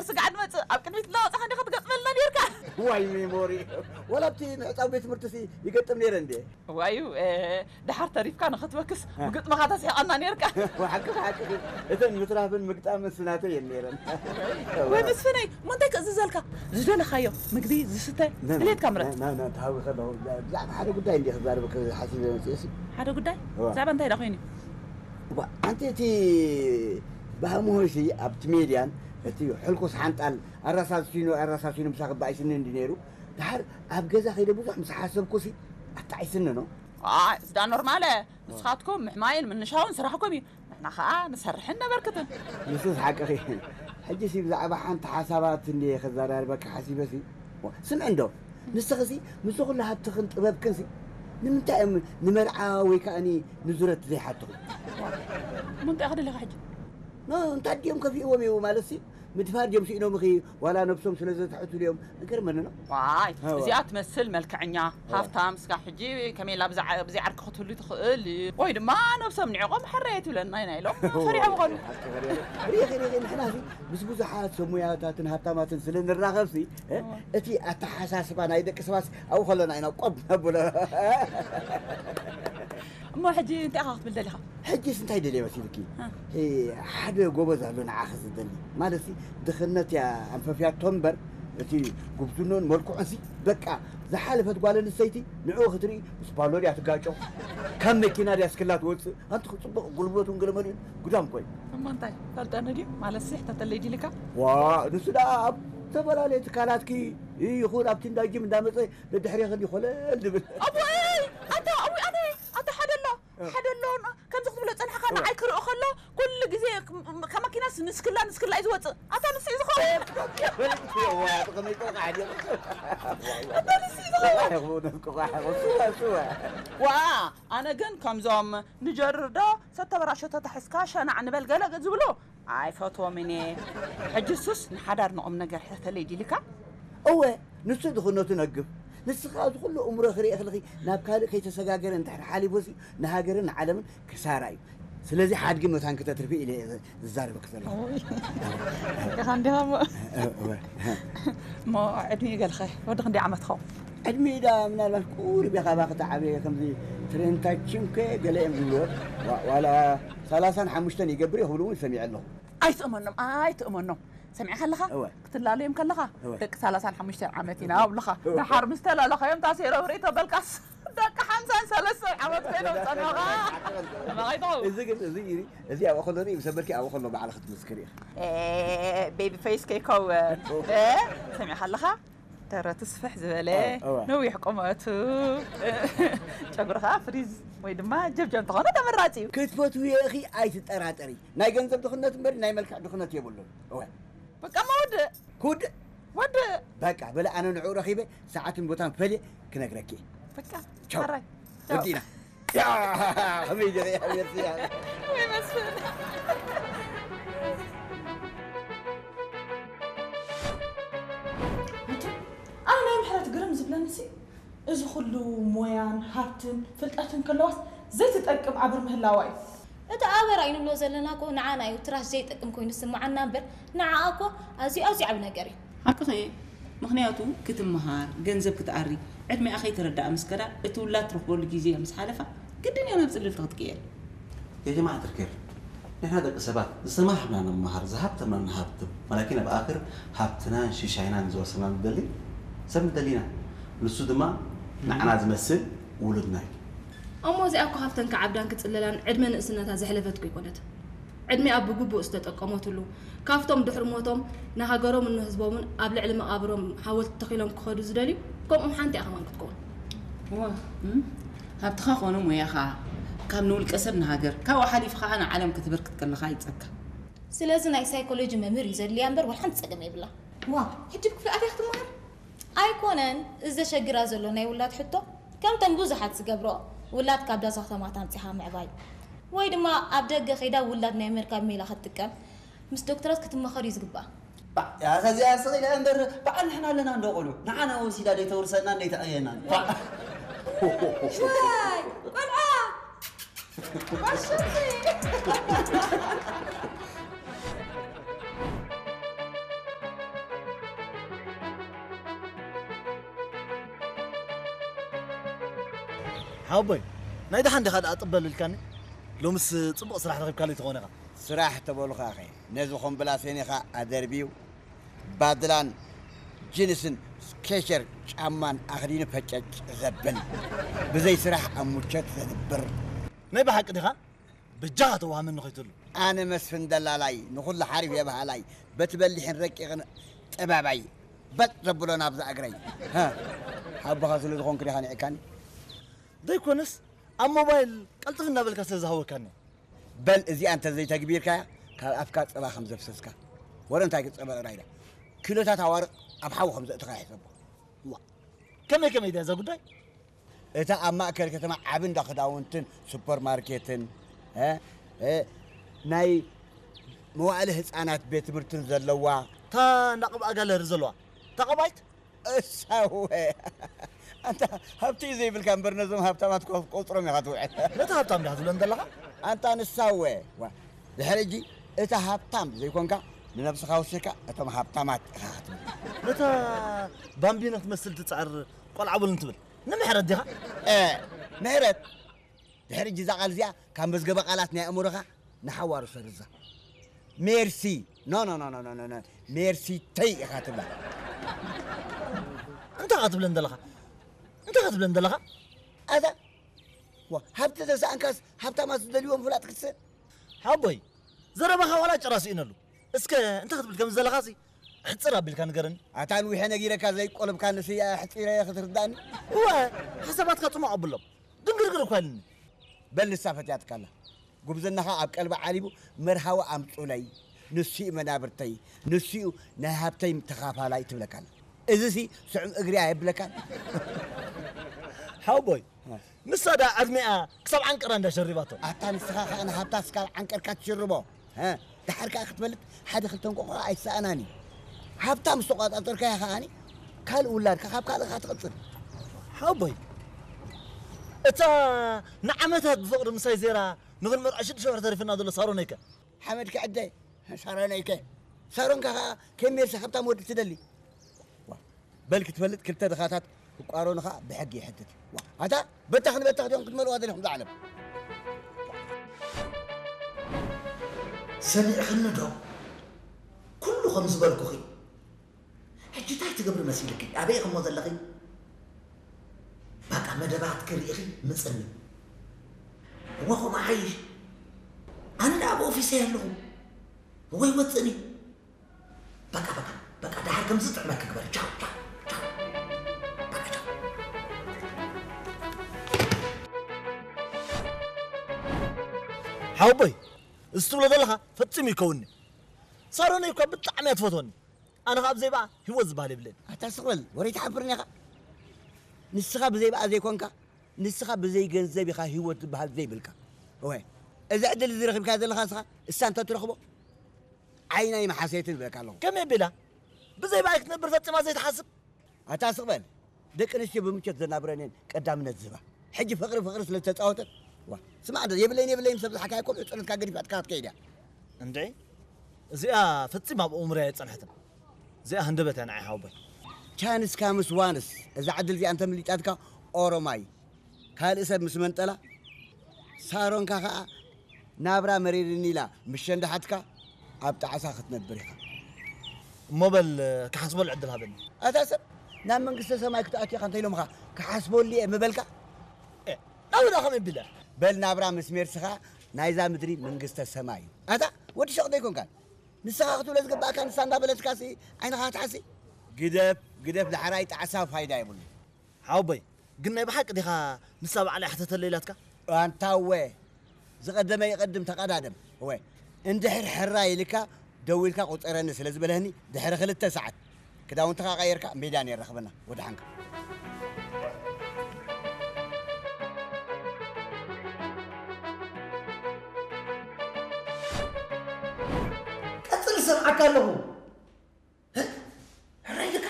ስጋዕ ንመጽእ ኣብ ቅድሚት እናወጻኻ እንዲኻ ትገጥመልና ነርካ። ዋይ ሜሞሪ። ወላ ኣብቲ ምዕጻው ቤት ትምህርቲ ሲ ይገጥም ነይረ እንዴ? ዋዩ፣ እ፣ ደሓር ተሪፍካ ንኽትበክስ እ። ብግጥምኻ ተስሕቐና ነርካ። ሓቂ፣ ሓቂ። እተን ምትራፍን ምግጣምን ስናተይ እየን ነይረን። ወይ መስፍነይ፣ እሞ እንታይ ክእዝዘልካ? ዝደለኻዮ ምግቢ፣ ዝስተ፣ ነ-፣ ድሌትካ ምረጽ። ነ-፣ ነ-፣ ነ-፣ ተሃዊ ከለኹ፣ ብዛዕባ ሓደ ጉዳይ እንዲየ ክዛረበኪ ሓሲበ መጽእሲ። ሓደ ጉዳይ? እዋ። ብዛዕባ እንታይ ደኣ ኮይኑ? እዋ፣ ኣንቲ እቲ ባህሞሲ ኣብቲ ሜድያን እቲ ሕልኩስ ሓንጣል ኣራሳሲኑ፣ ኣራሳሲኑ ምሳኺ ባይስኒ እንዲ ነይሩ። ድሓር ኣብ ገዛ ከይደ ብዙሕ ምስ ሓሰብኩሲ ኣጣዒስኒ ነው። ኣይ፣ እዚ ደኣ ኖርማለ። ንስኻትኩም ምሕማይን ምንሻውን ስራሕኩም እዩ። ንሕና ኸኣ ንሰርሕን ነበርክትን። ንሱስ ሓቅኺ። ሕጂሲ ብዛዕባ ሓንቲ ሓሳባት እንድየ ከዘራርበኪ ሓሲበሲ። ስምዒ እንዶ፣ ንስኽሲ ምስዚ ኩሉ ሃብትኽን ጥበብክንሲ ንምንታይ እዮም ንመርዓ ወይ ከኣኒ ንዙረት ዘይሓትኹ? እሞ እንታይ ክደለኻ ሕጂ? ኖ፣ እንታይ ድዮም ከፊእዎም እዩ ማለትሲ? ምድፋር ድዮም ስኢኖምኺ ዋላ ነብሶም ስለ ዘትሕቱ ድዮም? ገርመኒ ነው። ዋይ፣ እዋ። እዚኣ ትመስል መልክዐኛ፣ እዋ። ሃፍታም፣ እስካ ሕጂ ከመይ ኢላ ብዛ-፣ ብዘይ ዓርኪ ክትህሉ ትኽእል? ወይ ድማ ነብሶም ንዕቆም ሕራየ ትብለና ኢና ኢሎም እዋ። ፈሪሖም ኾኑ። ሪኺ፣ ሪኺ፣ ንሕናሲ ምስ ብዙሓት ሰብ ሙያታትን ሃብታማትን ስለ ንራኸብሲ፣ እ፣ እዋ። እቲ ኣተሓሳስባ ናይ ደቂ ሰባት ኣብኡ ከለና ኢና ቆብ ነብሎ። እሞ ሕጂ እንታይ ኢኻ ክትብል ደሊኻ? ሕጂስ እንታይ ደልየ መሲልኪ? እ። እ፣ ሓደ ጎበዝ ኣሎ ንዓኺ ዝደሊ። ማለትሲ ድኽነት እያ ኣንፈፍያቶ እምበር፣ እቲ ጉብዝኖን መልክዑንሲ በቃ ዝሓለፈት ጓል ኣንስተይቲ ንዕኡ ክትርኢ ምስ ባሎ ድያ ትጋጮ? ካብ መኪና ድያ ስክላ ትወጽእ? ኣንቲ ጽቡቕ ጉልበቱን ገለመሊኡን ጉዳም ኮይ። እሞ እንታይ ፈልጠኒ ድዩ? ማለትሲ ሕተተለይ ዲልካ? ዋ፣ ንሱ ደኣ ኣብ ዝተፈላለየ ትካላትኪ ይኹን ኣብቲ እንዳ ጅም እንዳመጸ ደድሕሬ ከዲ ኮለል ድብል። ኣቦይ! ኣታ፣ ኣዊ፣ ኣነ፣ ኣታ ሓደ ኣሎ፣ እ። ሓደ ኣሎ፣ ን-፣ ከምዚ ክትብሎ ጸኒሕካ እ። ንዓይ ክርኢ ከሎ፣ ኩሉ ግዜ ክ-፣ ም-፣ ካብ መኪናስ ንስክላ፣ ንስክላ እዩ ዝወጽእ። ኣታ ንሱ እዩ ዝኸውን። ዋ፣ ጥቕሚ ጥቕሚ ዓዲ። ኣታ ንሱ እዩ ዝኸውን። ቆቋሕ ይኹን፣ ቆቋሕ ይኹን። ስዋ፣ ስዋ። ዋ፣ ኣነ ግን ከምዞም ንጀርር ዶ ሰተበራሾ ተታሒዝካ ሸናዕ ንበል ገለ ዝብሉ ኣይፈትዎምን እየ። ሕጂ እሱስ ንሓዳር ንቑም ነገር ሕተተለይ ዲልካ? እወ፣ ንሱ ድኽነቱ ነግብ። ንስኻ እዚ ኩሉ እምሮ ክርኢ ከለኺ ናብ ካልእ ከይተሰጋገረ እንድሕር ሓሊፉሲ ንሃገርን ንዓለምን ክሳራ እዩ። ስለዚ ሓድጊ መታን ክተትርፊ ኢለ እየ ዝዛረበኪ ዘለኹ። ኦይ። ኢኻ እንዲኻ እሞ። እወ። እሞ ዕድሚኡ ገልኸ ወዲ ክንደይ ዓመት ኸውን? ዕድሚኡ ዳ ምናልባት ቁሩብ ኢኻ ባኺ ተዓበየ ከምዚ ትሬንታችን ከ ገለ እዮም ዝብልዎ። ዋ-፣ ዋላ ሰላሳን ሓሙሽተን ይገብር ይኽብሉ እውን ሰሚዐ ኣለኹ። ኣይትእመኖም፣ ኣይትእመኖም። ሰሚዕካ ኣለኻ? እወ። ክትላለዮም ከለኻ፣ እወ። ደቂ ሰላሳን ሓሙሽተን ዓመት ኢና ኣብሉኻ። እወ። ደሓር ምስ ተላለኻዮም ታሴሮም ርእቶ በልካስ፣ ደቂ ሓምሳን ሰለስተን ዓመት ኮይኖም ጸኒሖኻ። ተማቒቶም። እዚ ግን፣ እዚ እዩ፣ እዚ ኣብኡ ከሎ ርኢ፣ ምስ ኣበልኪ ኣብኡ ከሎ ባዕልኺ ትምስክሪ ኢኺ። ኤ፣ ቤቢ ፌስ ከይከውን። እወ። ኤ፣ ሰሚዕካ ኣለኻ? ደረቱ ስፍሕ ዝበለ፣ እ፣ እወ። ነዊሕ ቁመቱ፣ ጨጉሪ ኸዓ ፍሪዝ ወይ ድማ ጀብጀብ እንተኾነ ተመራጺ እዩ። ክትፈትውዮ ኢኺ ኣይትጠራጠሪ። ናይ ገንዘብ ድኽነት እምበር ናይ መልክዕ ድኽነት የብሉን። እወ። በቃ እሞ ወድእ። ክውድእ? ወድእ። በቃ፣ በለ ኣነ ንዕኡ ረኺበ ሰዓትን ቦታን ፈልየ ክነግረኪ እየ። በቃ፣ ቻው። ሕራይ። ቻው። ወዲእና። ያ፣ ከመይ ዲኺ? ኣቤት፣ ያ። ወይ መስፍን። ኣነ ናይ ምሕረት ግርም ዝብለኒሲ፣ እዚ ኩሉ ሞያን ሃብትን ፍልጠትን ከለዋስ ዘይትጠቅም ኣብር ምህላዋ እዩ። እቲ ኣበራ እዩ ንብሎ ዘለና እኮ ንዓና እዩ ትራሽ ዘይጠቅም ኮይኑ ዝስምዓና እምበር፣ ንዓኣ እኮ ኣዝዩ፣ ኣዝዩ ዓቢ ነገር እዩ። ሓቅኺ እየ። ምኽንያቱ ክትመሃር፣ ገንዘብ ክትኣሪ፣ ዕድሚኣ ከይተረድኣ ምስ ከዳ፣ እቲ ውላድ ትረኽበሉ ግዜ ምስ ሓለፋ፣ ግድን እያ ናብ ጽልልቲ ክትቅየር። يا جماعة الخير، نحن دق سبات زما حبنا نمهر ذهبت من نهبت، ولكن بآخر هبتنا شيشاينا نزوسنا ندلي سب ندلينا نسو دما نعنا زمسل ولدنا. እሞ እዚኣ እኮ ሃብተን ክዓብዳን ክጽለላን ዕድመ ንእስነታ ዘሕለፈት እኮ ኣይኮነትን። ዕድሚኣ ብግቡእ ዝተጠቀመትሉ፣ ካብቶም ድሕሪ ሞቶም ንሃገሮምን ንህዝቦምን ኣብ ልዕሊ መቓብሮም ሓወልቲ ተኺሎም ክኸዱ ዝደልዩ፣ ከምኦም ሓንቲ እያ ከማን ክትከውን። እዋ፣ እም፣ ሃብትኻ ኮነ ሞያኻ ካብ ንውልቀ ሰብ ንሃገር፣ ካብኡ ሓሊፉ ኸዓ ንዓለም ከተበርክት ከለኻ ይጸካ። ስለዚ ናይ ሳይኮሎጂ መምህር እዩ ዘድልያ እምበር ዋላ ሓንቲ ጸገም የብላ። ዋ፣ ሕጂ ክፍሊ ኣትያ ክትመሃር? ኣይኮነን፣ እዚ ዘሸግራ ዘሎ ናይ ውላድ ሕቶ፣ ከምተን ብዙሓት ዝገብሮ፣ ውላድ ካብ ዳዛ ከተማታት ኣምጺኻ ምዕባይ፣ ወይ ድማ ኣብ ደገ ከይዳ ውላድ ናይ ምርካብ ሜላ ክትጥቀም፣ ምስ ዶክተራት ክትመኸር እዩ ዝግባእ። ባዕ፣ ያኸ እዚኣ ስቕ ኢላ እምበር፣ በዓል ንሕና ኣለና እንዶ ቆልዑ። ንዓና ወሲዳ ደይተውርሰና፣ ደይተዕብየና። ባዕ። ዋይ፣ ቆልዓ! ባሸቲ! ሓወቦይ፣ ናይ ደሓን ዲኻ ደኣ ጥበል ኢልካኒ? ሎምስ ጽቡቕ ስራሕ ረኺብካለይ ትኾን ኢኻ። ስራሕ ተበሉኻኸ፣ ነዚ ኮምብላሴን ኢኻ ኣደርብዩ፣ ባድላን ጅንስን ስኬቸር ጫማን ኣኽዲኑ ፈጨጭ ዘብል፣ ብዘይ ስራሕ ኣብ ሙቸት ዘድብር። ናይ ብሓቂ ዲኻ? በጃኻ ተዋሃመኒ ከይትህሉ። ኣነ መስፍን ደላላይ፣ ንኹሉ ሓሪፍ የብሃላይ፣ በቲ በሊሕን ረቂቕን ጥበበይ፣ በጥ ዘብሎ ናብዛ እግረይ። ሃ፣ ሓቦኻ ስለ ዝኾንኩ ዲኻ ንዒካኒ? ዘይኮነስ፣ ኣብ ሞባይል ቀልጥፍ እናበልካ ስለ ዝሃወካኒ። በል እዚኣ እንተዘይተግቢርካያ፣ ካብ ኣፍካ ጸባ ከም ዘፍሰስካ። ወረ እንታይ ጸባ ጥራይ ኢላ። ኪሎታት ኣዋርቕ ኣብ ሓዊ ከም ዘእተኻ ይሕሰቦ። ዋ፣ ከመይ ከመይ ድያ እዛ ጉዳይ? እታ ኣብ ማእከል ከተማ ዓቢ እንዳ ክዳውንትን ሱፐርማርኬትን፣ እ፣ እ፣ ናይ መዋእለ ህጻናት ቤት ትምህርትን ዘለዋ። እታ እንዳ ቅብኣ ጋለሪ ዘለዋ። እታ ቀባይት? እሳወ። ኣንታ ሃብቲ እዩ ዘይብልካ እምበር ነዞም ሃብታማት ኮ-፣ ቆጽሮም ኢኻ ትውዕል። ነታ ሃብታም ዲኻ ትብለን ዘለኻ? ኣንታ ንሳወ። ዋ፣ ድሕሪ ሕጂ እታ ሃብታም ዘይኮንካ ንነብስኻ ወሲኽካ እቶም ሃብታማት ኢኻ ክትብል። ነታ ባምቢኖ ትመስል ትጽዕር ቆልዓ በሉኒ ትብል ንምሕረት ዲኻ? እ፣ ምሕረት። ድሕሪ ሕጂ እዛ ቃል እዚኣ ካብ መዝገበ ቃላት ናይ ኣእምሮኻ ንሓዋሩ ሰርዛ። ሜርሲ። ኖ፣ ኖ፣ ኖ፣ ኖ፣ ኖ፣ ኖ። ሜርሲ ተይ ኢኻ ትብላ። እንታይ ኢኻ ትብለን ዘለኻ? እንታይ ኢኻ ትብለን ዘለኻ? ኣታ፣ ዋ፣ ሃብቲ ተሰኣንካስ ሃብታማት ዝደልይዎ ምፍላጥ ክትስእ? ሓቦይ፣ ዘረባኻ ዋላ ጭራ ስኢነሉ። እስከ እንታይ ክትብል ከም ዘለኻሲ ሕጽር ኣቢልካ ንገረኒ። ኣታ ንዊሐ ነጊረካ ዘይቆለብካ ንስያ ሕጺረ ክትርዳእኒ? እወ፣ ሓሳባትካ ጽማቕ ኣብሎም። ድንግርግር እኳ ኢልኒ። በል ንሳ ፈትያትካ ኣላ። ጉብዝናኻ ኣብ ቀልባ ዓሊቡ መርሃዊ ኣምጹለይ፣ ንሱ'ዩ መናብርተይ፣ ንሱ'ዩ ናይ ሃብተይ ተኻፋላይ ትብለካ ኣላ። እዚሲ ስዑም እግሪ ኣየብለካን? ሓወቦይ፣ እ። ንሳ ደኣ ዕድሜኣ ክሳብ ዓንቀራ እንዳ ሸሪባቶ። ኣታ ንስኻ ኸኣ ንሃብታ ስካብ ዓንቀርካ ትሽርቦ። እ፣ ደሓር ከኣ ክትፈልጥ ሓደ ክልተ እንቋቑሖ ኣይሰኣናን እዩ። ሃብታ ምስ ተቋጻጸርካያ ከኣኒ ካልእ ውላድካ ካብ ካልእኻ ትቐጽል። ሓወቦይ፣ እታ ንዓመታት ብፍቕሪ ምሳይ ዜራ ንኽንመርዖ ሽዱሽተ ወርሒ ተሪፍና ዘሎ ሳሮነይከ? ሓመድ ክዕደ ሳሮነይከ። ሳሮንካ ከኣ ከመይ ሜርሲ ሃብታም ወዲ ትደሊ? ዋ፣ በል ክትፈልጥ ክልተ ድኻታት ክቋረኑ ከኣ ብሕጊ ይሕትት። ዋ፣ ኣታ በታኽ ንበታኽ ዲኹም ክትመልእዋ ደሊኹም እዛ ዓለም? ሰሚዕኽኒ ዶ? ኩሉ ከም ዝበልኩኺ። ሕጂ እንታይ ትገብሪ መሲልኪ? ኣበይ ኢኺ እሞ ዘለኺ? በቃ መደባትኪ ርኢኺ ምጽኒ። እወ፣ ከምኡ ሓይሽ። ኣነ ደኣ ኣብ ኦፊሰይ ኣለኹ። እወ፣ ይወጽእኒ። በቃ፣ በቃ፣ በቃ፣ ደሓር ከምዚ ጥዕመኪ ግበሪ። ቻው፣ ቻው፣ ቻው። በቃ፣ ቻው። ሓወቦይ፣ እዚ ትብሎ ዘለኻ ፈጺሙ ይከውንኒ። ሳሮነይ እኳ ብጣዕሚ እያ ትፈትወኒ። ኣነ ኸኣ ብዘይ ብኣ ህይወት ዝበሃል የብለይን። ኣታ ስቕ በል፣ ወረይ ትሓፍርኒ ኢኻ። ንስኻ ብዘይ ብኣ ዘይኮንካ፣ ንስኻ ብዘይ ገንዘብ ኢኻ ህይወት ዝበሃል ዘይብልካ። እወ፣ እዚ ዕድል እዚ ረኺብካዮ ዘለኻ ንስኻ፣ እሳ እንተ ትረኽቦ፣ ዓይና ይመሓሰየት ንብለካ ኣለኹ። ከመይ ኣቢላ? ብዘይ ብኣይ ክትነብር ፈጺማ ዘይትሓስብ? ኣታ ስቕ በል። ደቂ ኣንስትዮ ብምቾት ዘናብረን እየን ቀዳምነት ዝህባ። ሕጂ ፍቕሪ ፍቕሪ ስለ ዝተጻወተት፣ ዋ፣ ስማዕ ዶ፣ የብለይን የብለይን ምስ ኣብዝሓካዮ እኮ ብዕጹነትካ ገዲፋትካ ክትከይድ እያ። እንድዒ፣ እዚኣ ፈጺማ ኣብ ኣእምሮይ ኣይጸንሐትን። እዚኣ ሃንደበት እያ ንዓይ ሓወቦይ። ቻንስ ካምስ ዋንስ፣ እዛ ዕድል እዚኣ እንተምሊጣትካ ኦሮማይ፣ ካልእ ሰብ ምስ መንጠላ፣ ሳሮንካ ኸኣ ናብራ መሪርኒ ኢላ ምስ ሸንደሓትካ ኣብ ጣዕሳ ክትነብር ኢኻ። እሞ በል ክሓስበሉ ዕድል ሃበኒ። ኣታ ሰብ፣ ናብ መንግስተ ሰማይ ክትኣቱ ኢኻ እንተ ኢሎምኻ ክሓስበሉ እየ ምበልካ? ኤ፣ ናብኡ ደኣ ከመይ ቢለ? በል ናብራ ምስ ሜርስኻ ናይዛ ምድሪ መንግስተ ሰማይ እዩ። ኣታ ወዲ ሸቕ ዶ ኣይኮንካን? ንስኻ ክትብሎ ዝግባእካ ንሳ እንዳበለትካሲ ዓይንኻ ትሓሲ? ግደፍ፣ ግደፍ፣ ዳሕራይ ጣዕሳ ፋይዳ የብሉን። ሓወቦይ፣ ግን ናይ ብሓቂ ዲኻ ንሳ ባዕላ ይሓተተለይ ኢላትካ? ኣንታ እወ፣ ዝቐደመ ይቐድም ተቐዳደም። እወ፣ እንድሕር ሕራይ ኢልካ ደዊልካ ቁጸረኒ ስለ ዝበለህኒ፣ ድሕሪ ክልተ ሰዓት ክዳውንትኻ ቀይርካ ሜዳ ነይርና ርኸበና። ወደሓንካ። ቀጽል፣ እሰምዓካ ኣለኹ። እ? ሕራይ ኢልካ?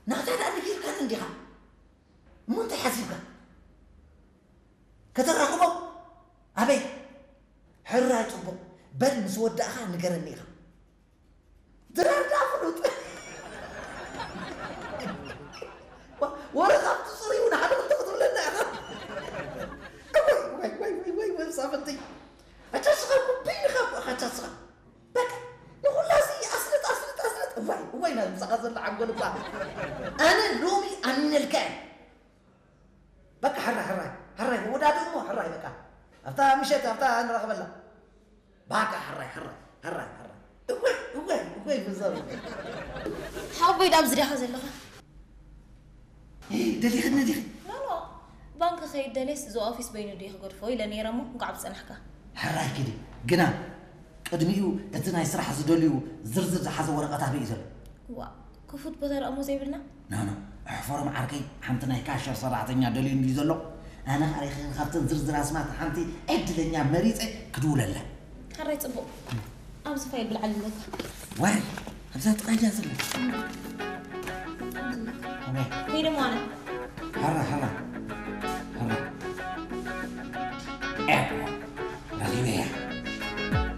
ናታ ደኣ ነጊርካኒ እንዲኻ። እሞ እንታይ ሓሲብካ? ከተራኽቦ? ኣበይ? ሕራይ ጽቡቕ። በል ምስ ወዳእኻ ንገረኒ ኢኻ። ድራር ደኣ ፍሉጥ። ዋ-፣ ወረ ካብቲ ጽሩይ እውን ሓደ ክልተ ክትብለና ኢኻ። ምሳኻ ዘሎ ዓንጎል እባ ኣነ ሎሚ ኣሚነልካ እየ። በቃ ሕራይ ሕራይ ሕራይ መወዳድኡ እሞ ሕራይ በቃ ኣብታ ምሸት ኣብታ ንራኸበላ። በቃ ሕራይ ሕራይ ሕራይ ሕራይ እወይ እወይ እወይ ብዛብ ሓወቦይ ዳብ ዝዲኻ ዘለኻ ደሊኽኒ ዲኺ? ኖኖ ባንክ ከይድ ደልየስ እዚ ኦፊስ በይኑ ድዩ ክገድፎ ኢለ ነይረ እሞ እንኳዕ ብፀናሕካ። ሕራይ ኪዲ ግና ቅድሚኡ እቲ ናይ ስራሕ ዝደልዩ ዝርዝር ዝሓዘ ወረቐት ኣበይ እዩ ዘሎ? ዋ ክፉት ቦታ ደኣ እሞ ዘይብልና? ናኖ ኣሕፈሮም ዓርከይ ሓንቲ ናይ ካሸር ሰራሕተኛ ደልዩ እንድዩ ዘሎ ኣነ ኻሪኸ ካብተን ዝርዝር ኣስማት ሓንቲ ዕድለኛ መሪፀ ክድውለላ። ሕራይ ፅቡቕ ኣብዚ ፋይል ብልዓል ኣለካ። ዋይ ኣብዛ ጥቓ እያ ዘላ። ከይደ ሞ ኣነ። ሕራ ሕራ ሕራ ረኺበያ።